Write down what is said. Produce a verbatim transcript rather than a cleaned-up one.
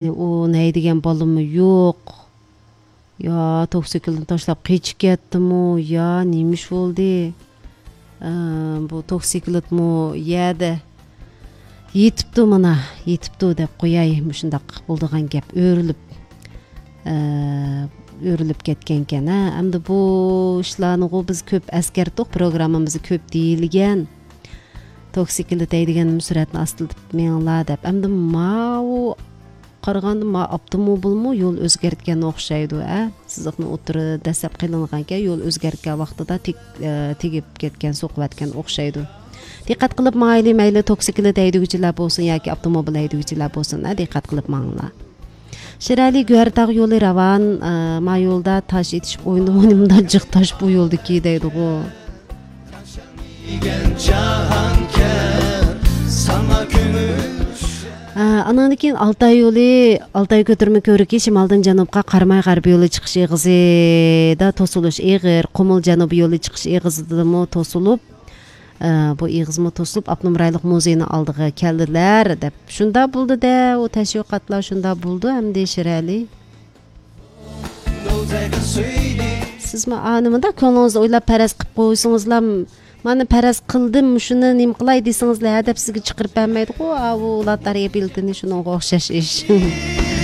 ئۇ نەيدىگەن بالىمۇ يوق. يا توكسىكلىتنى تاشلاپ قېچىپ كەتتىمۇ، يا نېمە ئىش بولدى؟ ئە، بۇ توكسىكلىتمۇ يەردە يېتىپتۇ، مانا، يېتىپتۇ دەپ قوياي، مۇشۇنداق بولىدىغان گەپ، ئۆرۈلۈپ، ئە، ئۆرۈلۈپ كەتكەنكەن، ھە. ئەمدى بۇ ئىشلارنىغۇ بىز كۆپ ئەسكەرتتۇق، پروگراممىمىزدا كۆپ دېيىلگەن. توكسىكلىت ھەيدىگەندىمۇ سۈرئەتنى ئاستىلىتىپ مېڭىڭلار دەپ. ئەمدى ماۋۇ قارىغاندا، ما ئاپتوموبىلمۇ يول ئۆزگەرتكەن ئوخشايدۇ، ئە؟ سىزىقنى ئوتتۇرىدا دەسسەپ قېلىنغانكەن، يول ئۆزگەرتكەن ۋاقتىدا تېگ-، ئە، تېگىپ كەتكەن، سوقۇۋەتكەن ئوخشايدۇ. دىققەت قىلىپ ماڭايلى، مەيلى توكسىكلىت ھەيدىگۈچىلەر بولسۇن ياكى ئاپتوموبىل ھەيدىگۈچىلەر بولسۇن، ئە، دىققەت قىلىپ ماڭىڭلار. شىرئەلى، گۆھەرتاغ يولى راۋان، ئە، ما يولدا تاش ئېتىشىپ ئوينىمىغىنىمدا جىق تاش بۇ يولدىكى دەيدىغۇ. ئە، ئانىڭدىن كېيىن ئالتاي يولى، ئالتاي كۆتۈرمە كۆۋرۈكى شىمالدىن جەنۇبقا قاراماي غەربىي يولى چىقىش ئېغىزىدا توسۇلۇش ئېغىر، قۇمۇل جەنۇبىي يولى چىقىش ئېغىزىدىمۇ توسۇلۇپ، ئە، بۇ ئېغىزمۇ توسۇلۇپ، ئاپتونوم رايونلۇق مۇزېينىڭ ئالدىغا كەلدىلەر، دەپ. شۇنداق بولدى-دە، ئۇ تەشۋىقاتلار شۇنداق بولىدۇ ئەمدى، شىرئەلى. سىزمۇ ئانىمۇدا كۆڭلىڭىزدە ئويلاپ پەرەز قىلىپ قويسىڭىزلا، مانا پەرەز قىلدىم، شۇنى نېمە قىلاي دېسىڭىزلا، ھە دەپ سىزگە چىقىرىپ بەرمەيدىغۇ، ئاۋۇ لاتارىيە بېلىتىنى، شۇنىڭغا ئوخشاش ئىش.